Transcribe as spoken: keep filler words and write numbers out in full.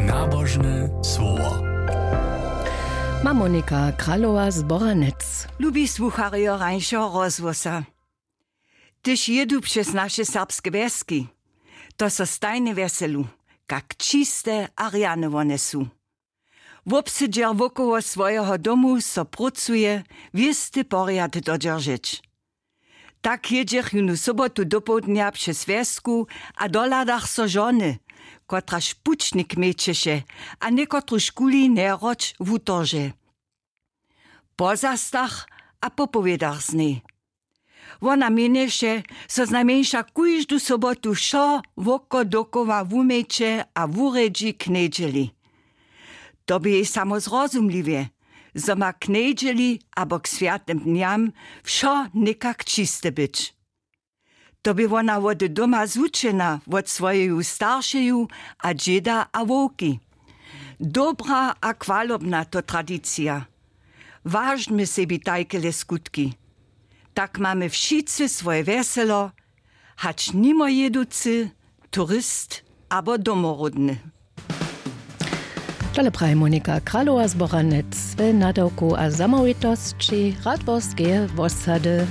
Nabožne słowo. Ma Monika Kralowa z Boranec. Lubi słucharjo rańšeho rozhłosa. Hdyž jědu přez naše serbske wjeski, to so stajnje wjeselu, kak čiste a rjane wone su. Wobsedźer wokoło swojeho domu so prócuje wěsty porjad dodźeržeć. Tak jědźech jónu sobotu dopołdnja přez wjesku a dohladach so žony, kotraž pućnik měćeše a někotruž kuli njeroč wutorže. Pozastach a popowědach z njej. Wona měnješe, zo znajmjeńša kóždu sobotu wšo wokodokoła wuměće a wurjedźi k njedźeli. To bě jej samo zrozumliwje, zo ma k njedźeli abo k swjatym dnjam wšo někak čiste być. To bě wona wody doma zwučena wot swojeju staršeju a dźěda a wowki. Dobra a chwalobna to tradicija. Waždmy sebi tajkele skutki. Tak mamy wšitcy swoje wjeselo, hač nimojěducy, turist abo domoródny. Tole praji Monika Kralowa z Boranec we nadawku a zamołwitosći Radworskeje wosady.